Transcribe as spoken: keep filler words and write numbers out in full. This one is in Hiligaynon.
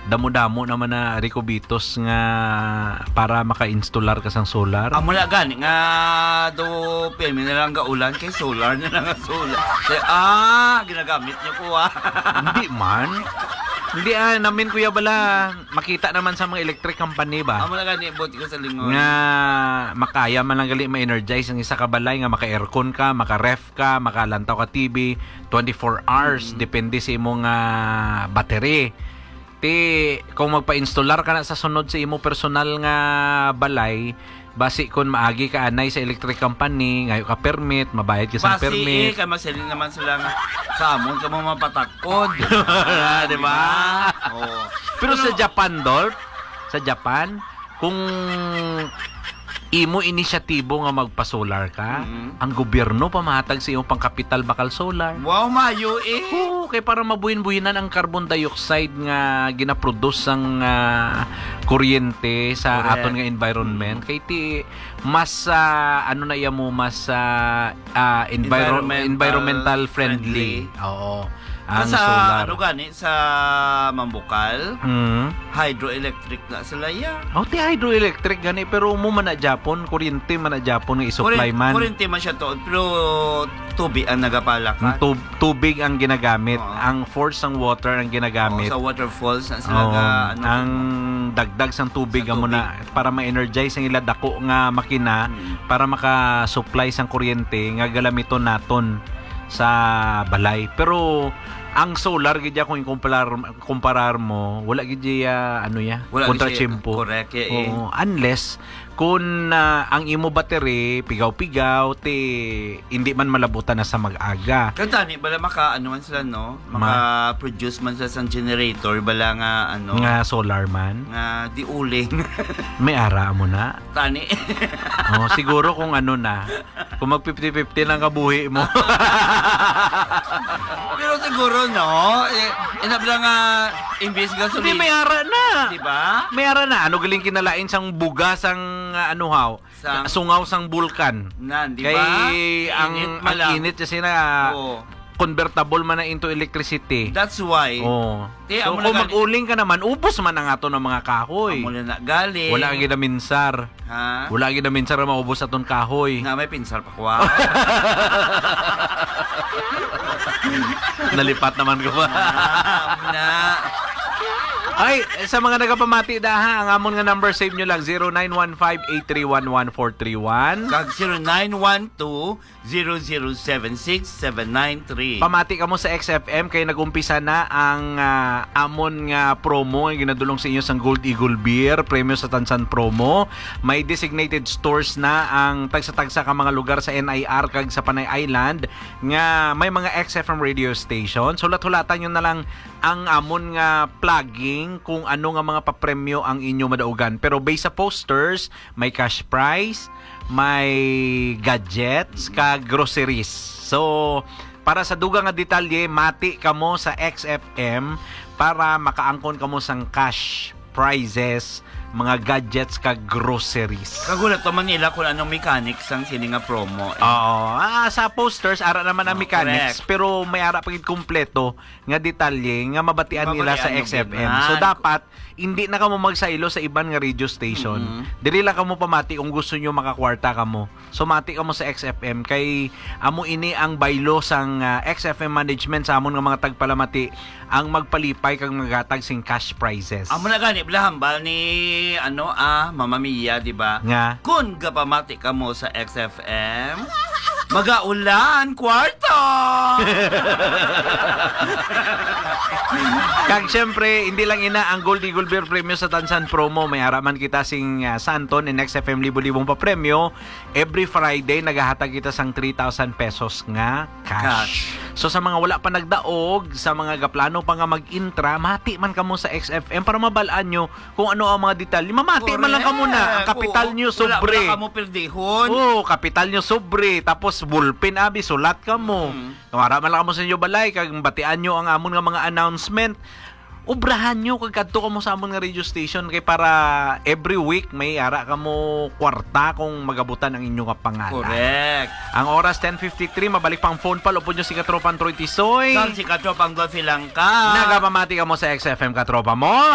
Damo-damo naman na rekubitos nga para maka-installer ka sang solar. Amo na gani nga do pirmi na lang gaulan kay solar na lang ang solar. Kay, ah, ginagamit niyo ko, ah. Hindi man. Hindi, ah, namin, Kuya Bala, makita naman sa mga electric company ba? Amo na gani, buot ko sa lingon. Nga makaya man lang gali ma-energize ang isa ka balay, nga maka-aircon ka, maka-ref ka, makalantaw ka T V, twenty-four hours, Mm. depende sa imong, ah, battery. Ti, kung magpa-installer ka na sa sunod sa imo personal nga balay, basi kun maagi ka anay sa electric company, ngayo ka permit, mabayad ka sa Basi, permit. eh, kay masiling naman sila nga, sa amon ka mo mapatakod. Di ba? Oo. Pero sa Pero Japan, Dolph, sa Japan, kung imo inisyatibo nga magpa-solar ka, Mm. ang gobyerno pamahatag sa imong pangkapital bakal solar. Wow, mayo eh. Oo, kay para mabuhin-buhinan ang carbon dioxide nga ginaproduce sang, ah, kuryente sa Correct. aton nga environment. Mm. Kay ti, mas, ah, ano na iya mo, mas, ah, ah, enviro-, Environmental environmental friendly. friendly. Oo. Ang Sa solar. ano gani, sa Mambukal, Mm. hydroelectric na sila, ya. Oh, ti hydroelectric gani, pero mo man na Japon, kuryente man na Japon nga i-supply Kurin-, man. kuryente man siya to, pero tubig ang nagapalakan. Ang tub-, tubig ang ginagamit, Oo. ang force ng water ang ginagamit. Oo, sa waterfalls na sila Oo, ga-, ano, ang dagdag sang tubig Sa amo tubig. na para ma-energize ang ila dako nga makina Mm. para maka-supply sang kuryente nga galamiton naton sa balay. Pero ang solar gid ya, kung ikumparar, kumparar mo, wala gid ya, ano ya, Wala gid siya, kontratiyempo. Correct, ya, eh. Oo, unless kung, ah, ang imo battery pigaw-pigaw, ti hindi man malabutan na sa mag-aga. Kantani, bala maka, ano man sila, no? Ma- Maka-produce man sila sang generator, bala nga, ano, Nga solar man? nga diuling. May ara mo na? Tani. Oh, siguro kung ano na, kung mag fifty fifty lang kabuhi mo. Pero siguro, no? Eh, inabla nga, imbis gasolina. Hindi, may ara na. Di ba? May ara na. Ano galing kinalain sang bugas ang, ah, ano, haw? Sang Sungaw sang bulkan. Nan, di Kay ba? ang, Init man ang lang. init kasi na Oo. convertible man na into electricity. That's why. Oo. Kaya So, amo kung na gani. mag-uling ka naman, ubos man ang ato ng mga kahoy. Amo na na gali. Wala ang ginaminsar. Ha? Wala ang ginaminsar na maubos aton kahoy. Na may pinsar pa kuha. Nalipat naman ko ba? Na. Ay, sa mga nagapamati da ha, ang amon nga number, save nyo lang, zero nine one five eight three one one four three one. Kag zero nine one two, zero zero seven six, seven nine three. Pamati kamo sa X F M kay nag-umpisa na ang, ah, amon nga promo nga ginadulong sa inyo sang Gold Eagle Beer, premyo sa Tansan promo. May designated stores na ang tagsa-tagsa ka mga lugar sa N I R kag sa Panay Island nga may mga X F M radio station. Hulat-hulatan nyo na lang ang amon nga plugging kung ano nga mga papremyo ang inyo madaugan. Pero based sa posters, may cash prize, may gadgets, kag groceries. So, para sa dugang nga detalye, mati kamo sa X F M para makaangkon kamo sang cash prizes, mga gadgets, kag groceries. Kagulat pa man nila kung anong mechanics ang sini nga promo, eh. Oo. Ah, sa posters, ara naman ang Oh, mechanics, correct. pero may ara pa gid kompleto nga detalye nga mabatian nila sa Mabatian mo X F M. gid. So, Ah, dapat, hindi na kamo magsaylo sa iban nga radio station. Mm. Diri lang kamo pamati kung gusto nyo makakwarta kamo. So, mati kamo sa X F M. Kay amo ini ang baylo sang, ah, X F M management sa amon nga mga tagpalamati ang magpalipay kag maghatag sing cash prizes. Amo na gani, bala hambal ni, ano, ah, Mama Mia, di ba? Nga? Kun gapamati kamo sa X F M, magaulan, kwarta! Kag syempre, hindi lang ina ang Gold Eagle Beer Premio sa Tansan Promo. May ara man kita sing, ah, Santon and X F M libo-libong papremyo. Every Friday, nagahatag kita sang three thousand pesos nga cash. Cash. So, sa mga wala pa nagdaog, sa mga gaplano pa nga mag-intra, mati man kamo sa X F M para mabal-an nyo kung ano ang mga detalye. Mamati man lang kamo na. Ang Correct. kapital Oo. nyo, Wala, sobre. wala kamo perdihon. Oo, kapital nyo, sobre. Tapos, ballpen, abi, sulat kamo. Mm. Wala man lang kamo sa inyo balay, kag batian nyo ang amon nga mga announcement. Obrahan nyo, kag kadto kamo sa amon nga radio station, kay para every week may ara kamo kwarta kung magabutan ang inyo nga pangalan. Correct. Ang oras, ten fifty-three, mabalik pang phone pa, upod nyo si Katropang Troy Tisoy. Kag si Katropang Dolphy Langka. Nagapamati kamo sa X F M, Katropa mo.